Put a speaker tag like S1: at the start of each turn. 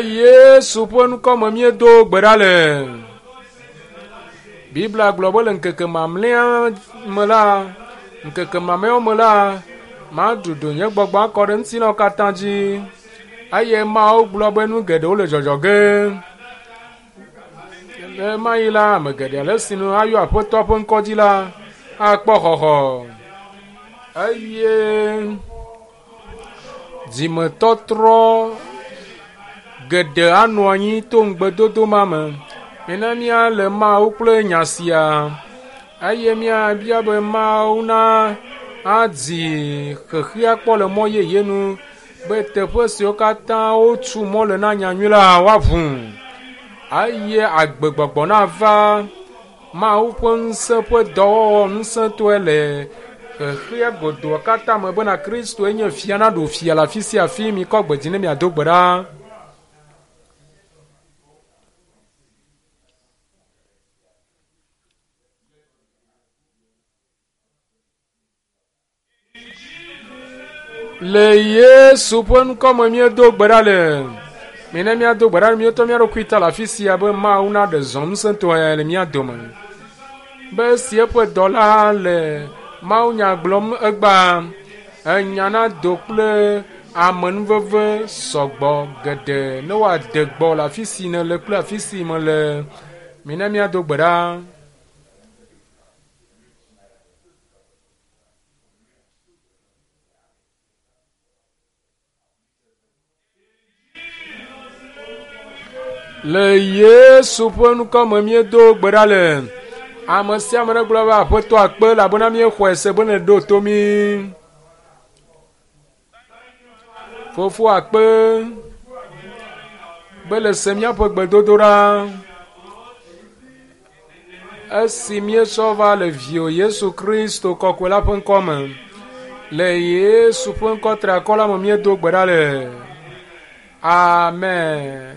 S1: Yesu ƒe ŋkɔ me míedo gbe ɖa le. Biblia gblɔ be le ŋkeke mamlɛa me la, ŋkeke mamlɛawo me la, madudu nye gbɔgbɔ akɔ ɖe ŋutilãwo katã dzi. Eye Mawu gblɔ be nu geɖewo le dzɔdzɔ ge. Le ma yi la, ame geɖe ale si nu ayɔ Aƒetɔ ƒe ŋkɔ dzi la akpɔ xɔxɔ. Eye dzimetɔtrɔ geɖe anɔ anyi to ŋugbedodo ma me. Mina míale Mawu kple nya sia eye míabia be Mawu na adi xexea kpɔ le mɔ yeye nu be teƒe siwo katã wotu mɔ le na nyanyui la woaʋu eye agbegbɔgbɔ nava Mawu ƒe ŋusẽ ƒe dɔwɔwɔ ŋusẽtɔe le xexea godoa katã me bena Kristoe nye fia naɖu fia le afi sia afi. Mikɔ gbe dzi ne miado gbe ɖa. Le Yesu ƒe ŋkɔ me míedo gbe ɖa le. Mina míado gbe ɖa le míetɔ mía ɖokui ta le afi sia be Mawu naɖe zɔ ŋusẽtɔe le mía dome. Be esi eƒe dɔla le mawunya gblɔm egbea, enya nado kple amenuveve sɔgbɔ geɖe ne woade gbɔ le afi si nèle kple afi si mele. Mina míado gbe ɖa. Le Yesu ƒe ŋkɔ me míedo gbe ɖa le. Ame sia ame negblɔ be Aƒetɔ akpe elabena míexɔe se be nèɖo to mí. Fofo akpe be le se míaƒe gbedodoɖa. Esi míesɔ va le viwò Yesu Kristo kɔkɔe la ƒe ŋkɔ me. Le Yesu ƒe ŋkɔ triakɔ la me míedo gbe ɖa le. Amen.